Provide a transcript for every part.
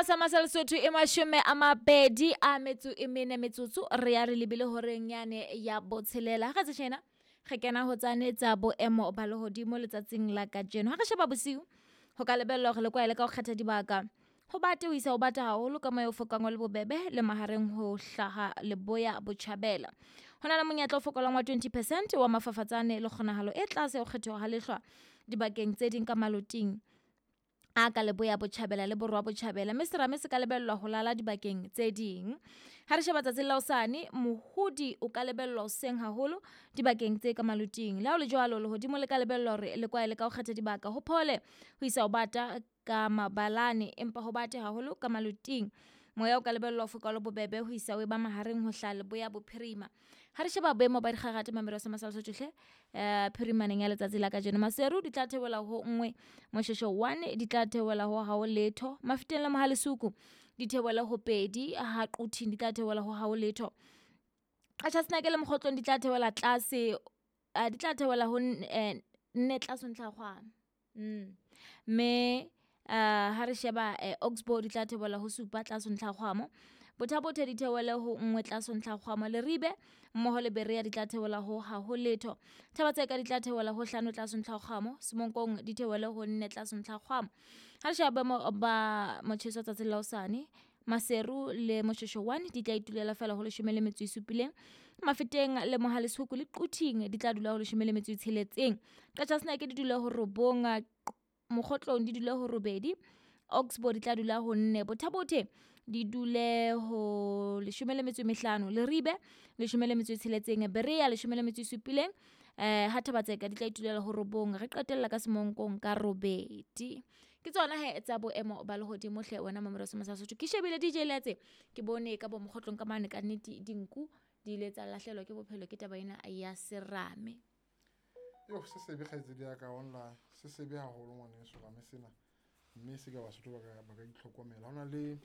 Hora sa masa Lesotho e 24 metsotso re ya re lebile horeng yane ya botshelela. Ha re tse tjena re kena ho tsane tsa boemo ba lehodimo letsatsing la kajeno. Ha re sheba bosiu ho ka lebellwa hore le kwaele ka ho kgetha dibaka ho bate ho isa ho bata haholo ka moya o fokang o le bobebe le mahareng ho hlaha leboya botjhabela. Ho na le monyetla o fokolang wa 20 percent wa mafafatsane le kgonahalo e tlase ya ho kgethoha ha lehlwa dibakeng tse ding ka maloting a ka leboya botjhabela le borwa botjhabela, mme serame se ka lebellwa ho lala dibakeng tse ding. Ha re sheba tsatsing la hosane, mohodi o ka lebellwa hoseng haholo dibakeng tse ka maloting. Le ha ho le jwalo, lehodimo le ka lebellwa hore le kwaele ka ho kgetha dibaka ho phole ho isa ho bata ka mabalane, empa ho bate haholo ka maloting. Moya o ka lebellwa ho foka o le bobebe ho isa ho eba mahareng ho hlaha leboya bophirima. Ha re sheba boemo ba dikgakgathe Mamelodi sa Masala Sotho hle, phirimaneng ya letsatsi la kajeno, Maseru di tla theohela ho 1, Moshweshwe 1 di tla theohela ho hao letho, Mafeteng le Mohale's Hoek di theohele ho 2, ha Quthing di tla theohela ho hao letho. Qacha's Naka le Mokgotlong di tla theohela tlase, di tla theohela ho 4 tlase ho ntlha ya kgwama. Mme ha re sheba Oxbow di tla theohela ho 7 tlase ho ntlha ya kgwamo. Botha-Bothe di theohele ho 1 tlase ho ntlha ya kgwamo. Leribe mmoho le Berea di tla theohela ho ha ho letho. Thaba-Tseka di tla theohela ho 5 tlase ho ntlha ya kgwamo. Semonkong di theohele ho 4 tlase ho ntlha ya kgwamo. Ha re sheba boemo ba motjheso tsatsing la hosane, Maseru le Moshweshwe 1 di tla itulela feela ho 17. Mafeteng le Mohale's Hoek le Quthing di tla dula ho 16. Qacha's Naka di dula ho 9, Mokgotlong di dule ho 8, Oxbow di tla dula ho 4, Botha-Bothe di dule ho 15, Leribe 16, Berea 17, ha Thaba-Tseka di tla itulela ho 9, re qetella ka Semonkong ka 8. Ke tsona he tsa boemo ba lehodimo hle wena Mamelodi sa Sotho. Ke shebile DJ Letse, ke bone ka bo Mokgotlong ka mane ka nnete dinku di ile tsa lahlehelwa ke bophelo ke taba ena ya serame. Yo, se sebe kgaitsedi ya ka online, se sebe haholo ngwaneso rame sena, mme se ka Basotho ba ka itlhokomela. Ho na le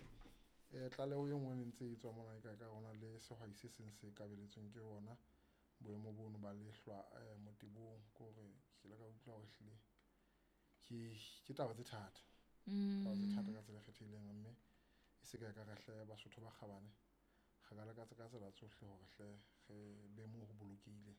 tlaleho e nngwe e ntse e tswa mona e ka ka hona le sehwai se seng se kabeletsweng ke ona boemo bono ba lehlwa motebong, ke hore ke ile ka utlwa hore ehlile ke taba tse thata, taba tse thata ka tsela e kgethehileng, mme e se ka ka re hle Basotho ba kgabane re ka leka ka tsela tsohle hore hle re be moo ho bolokehileng.